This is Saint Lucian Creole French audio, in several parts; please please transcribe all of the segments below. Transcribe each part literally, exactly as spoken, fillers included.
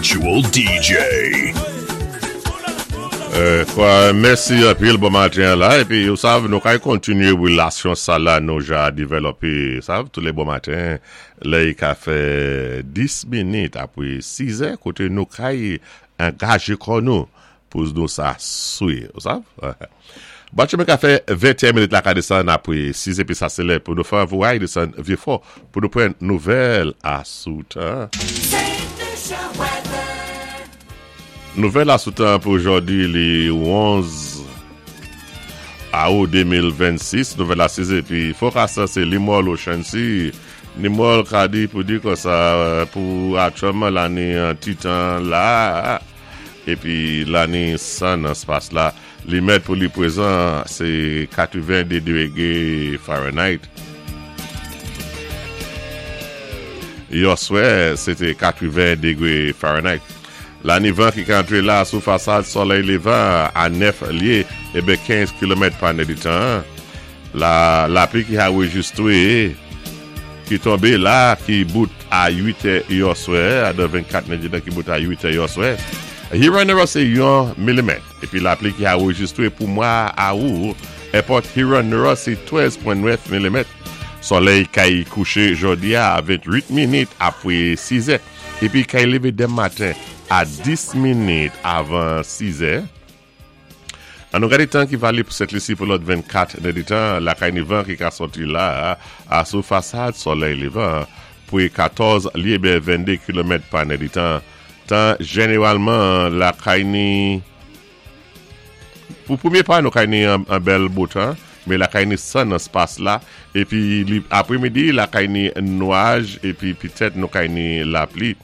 Virtual D J. Euh, kwa, mèsi anpil bon maten la, épi ou sav, nou kay kontinyé wélasyon sa la nou ja dévlopé, sav, tou lé bon maten, lè i ka fè dis minit apwé sis è, koté nou kay angajé kò nou pou nou sa swi, ou sav? Batch mwen ka fè venteyen minit la ka désann apwé sis épi sa sé lè pou nou fè vouay désann Vyéfò pou nou pran nouvèl asou tan. Nouvèl asou tan pou jòdi li onz awou de mil vennsis, nouvèl a sis épi forecast sé Limol Ocean Sea. Limol ka di pou di kon sa pou aktyèlman la ni an ti tan la épi la ni san nan spas la li mèt pou li pwézan sé katwenn-de dégwé Fahrenheit. Yèswè, sé té katwenn dégwé Fahrenheit. La ni van ki ka antré la sou fasad solèy lévan a nèf lyé ébé kenz kilomèt pa nèditan. La lapli ki anwéjistwé ki tonbé la ki bout a uit è yèswè, a de vennkat nèditan ki bout a uit è yèswè. Huron sé yon milimèt. Épi lapli ki anwéjistwé pou mwa awou, èpòt Huron sé trèz pwen nèf milimèt. Solèy kay kouché jòdi a ventwit minit apwé sis è. Épi kay lévé denmen maten a dis minit avan sis è. An nou gadé tan ki valé pou Sent Lisi pou lòt vennkat nèditan, lakay ni van ki ka sòti la a sou fasad solèy lévan pou katòz lyé ben venndé kilomèt pa nèditan. Tan jénéwalman lakay ni pou pwémyé pa nou kay ni an, an bèl bo tan, mé lakay ni san nan spas la, épi li, apwémidi lakay ni nwaj, épi pitèt nou kay ni lapli.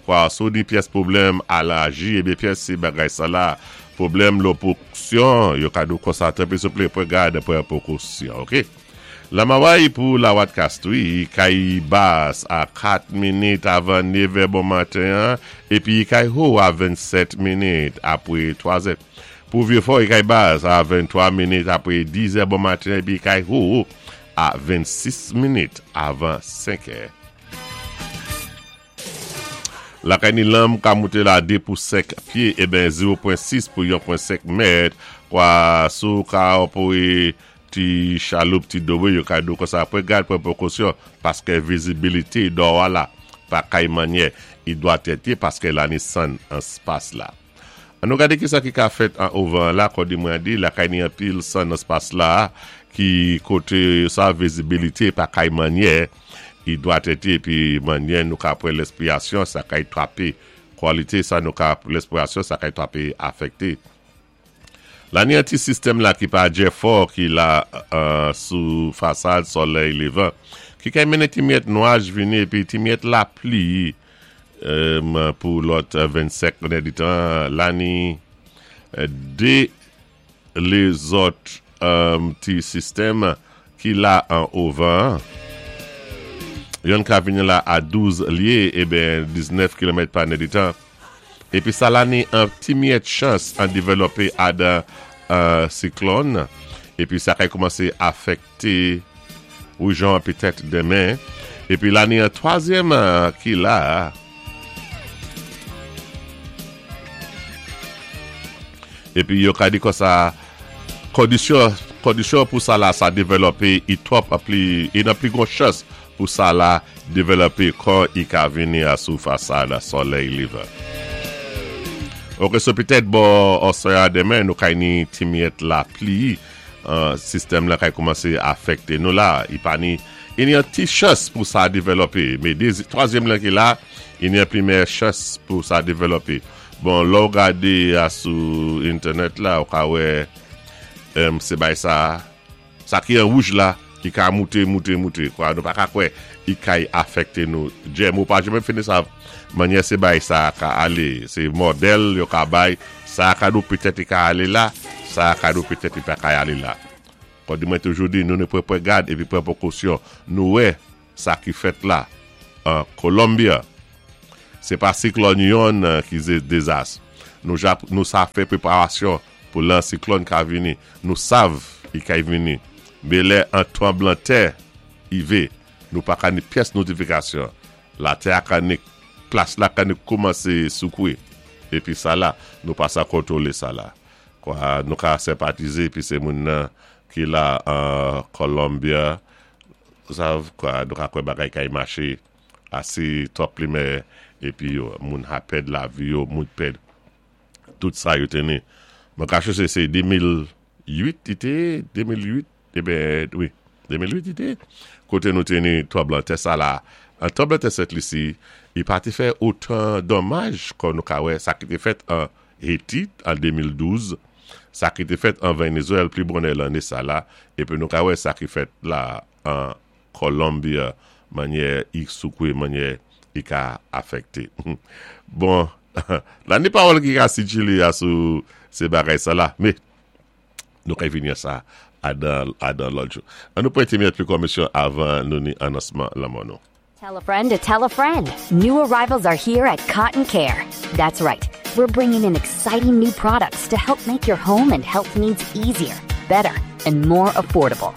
Kwa, sou di pyès pwoblèm alèji, ébé pyès sé bagay sa la, pwoblèm lopwoksyon, yo ka dou konsa tanpwi souplé pwan gad pwan pwékosyon, ok? La maway pou la wat kastwi, kay bas a kat minit avan nèv è bon maten, épi kay wo a vennsèt minit apwé twa è. Pou Vyéfò, kay bas a venntwa minit apwé diz è bon maten, épi kay wo a vennsis minit avan senk è. Lakay ni lanm ka mouté la de pou senk pyé, ében zewo pwen sis pou yon pwen senk mèt, kwa sou ka pou ti chaloup, ti dowe, yo ka dou kon sa pwan gad pwan pwékosyon, paské vizibilité dò la, pa kay manyè, i dwa tèté paské la ni san an spas la. An nou gadé ki sa ki ka fèt an ovan la, kòdi mwen di, lakay ni an pil san an spas la, ki koté sa vizibilité pa kay manyè, i dwa tèté, pi manyè nou ka pran lespwirasyon, sa kay twapé, kwalité sa nou ka lespwirasyon, sa kay twapé afèkté. La ni an ti sistèm la ki pa djè fò ki la uh, sou fasad solèy lévan. Ki kay mennen ti myèt nwaj vini épi ti myèt lapli um, pou lòt vennsenk nèditan. La ni dé lézòt um, ti sistèm ki la an ovan. Yon ka vini la a douz lyé, ébé diznèf kilomèt pa nèditan. Épi sa la ni an ti myèt chans an dévlopé adan uh, siklòn. Épi sa kay koumansé afèkté ou jan pitèt denmen. Épi la ni an twazyèm uh, ki la. Épi yo ka di kon sa kondisyon, kondisyon pou sa la sa dévlopé i twòp pli, i nan pli gwo chans pou sa la dévlopé kon i ka vini a sou fasad solèy lévan. Ok, so pitèt bò oswè a denmen nou kay ni ti myèt lapli, uh, sistèm la kay koumansé afèkté nou la. I pa ni, i ni an ti chans pou sa dévlopé. Mé dézi, twazyèm la ki la, i ni an pli meyè chans pou sa dévlopé. Bon, lò ou gadé a sou entènèt la, ou ka wè, um, sé bay sa, sa ki an wouj la, ki ka mouté, mouté, mouté, kwa, nou pa ka kwè, i kay afèkté nou. Djè, mou pa jèmè fini sa, manyè sé bay sa ka alé, sé modèl yo ka bay, sa ka nou pitèt i ka alé la, sa ka nou pitèt i pa ka alé la. Kon di mwen toujou di, nou ne pran pran gad épi pran pwékosyon. Nou wè sa ki fèt la, an Colombia. Sé pa siklòn yon ki zé dézas. Nou, ja, nou sa fè pwéparasyon pou lan siklòn ka vini. Nou sav i kay vini. Mé lè an tranblan tè i vé, nou pa ka ni pyès notifikasyon. Latè a ka ni Plas la ka ni koumansé soukwé. Épi sa la, nou pa sa kontwolé sa la. Kwa, nou ka senpatizé, épi sé moun nan ki la an Colombia, sav, kwa, nou ka kwè bagay kay maché asé top li mé, épi yo, moun ha pèd lavi yo, moun pèd tout sa yo té ni. Mwen kaché sé sé de mil uit i té, de mil uit, ében, wi, de mil uit i té, koté nou té ni tranblanntè sa la. An tranblanntè Sent Lisi, i pa té fè otan donmaj kon nou ka wè sa ki té fèt an Haiti an de mil douz, sa ki té fèt an Vénézwèl pli bonè lanné sa la, épi nou ka wè sa ki fèt la an Colombia, mannyè i soukwé, mannyè i ka afèkté. Bon, la ni pawòl ki ka sikilé a sou sé bagay sa la, mé nou ka vini a sa adan, adan lòt jou. An nou pwété miyèt pli komisyon avan nou ni anonsman lanmò nou. Tell a friend to tell a friend. New arrivals are here at Cotton Care. That's right. We're bringing in exciting new products to help make your home and health needs easier, better, and more affordable.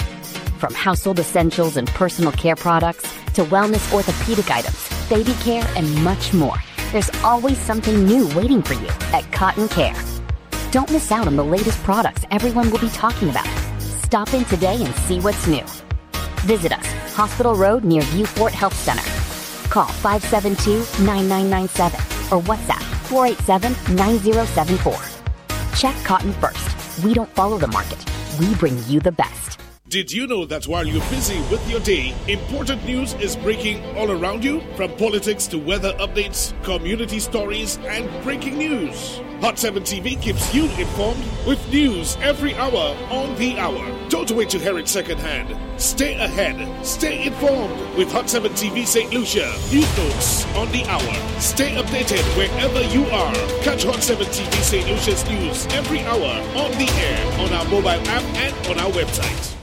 From household essentials and personal care products to wellness orthopedic items, baby care, and much more. There's always something new waiting for you at Cotton Care. Don't miss out on the latest products everyone will be talking about. Stop in today and see what's new. Visit us, Hospital Road near Vieux Fort Health Center. Call five seven two, nine nine nine seven or WhatsApp four eight seven, nine zero seven four. Check Cotton first. We don't follow the market. We bring you the best. Did you know that while you're busy with your day, important news is breaking all around you? From politics to weather updates, community stories, and breaking news. Hot seven T V keeps you informed with news every hour on the hour. Don't wait to hear it secondhand. Stay ahead. Stay informed with Hot seven T V Saint Lucia. News notes on the hour. Stay updated wherever you are. Catch Hot seven T V Saint Lucia's news every hour on the air, on our mobile app, and on our website.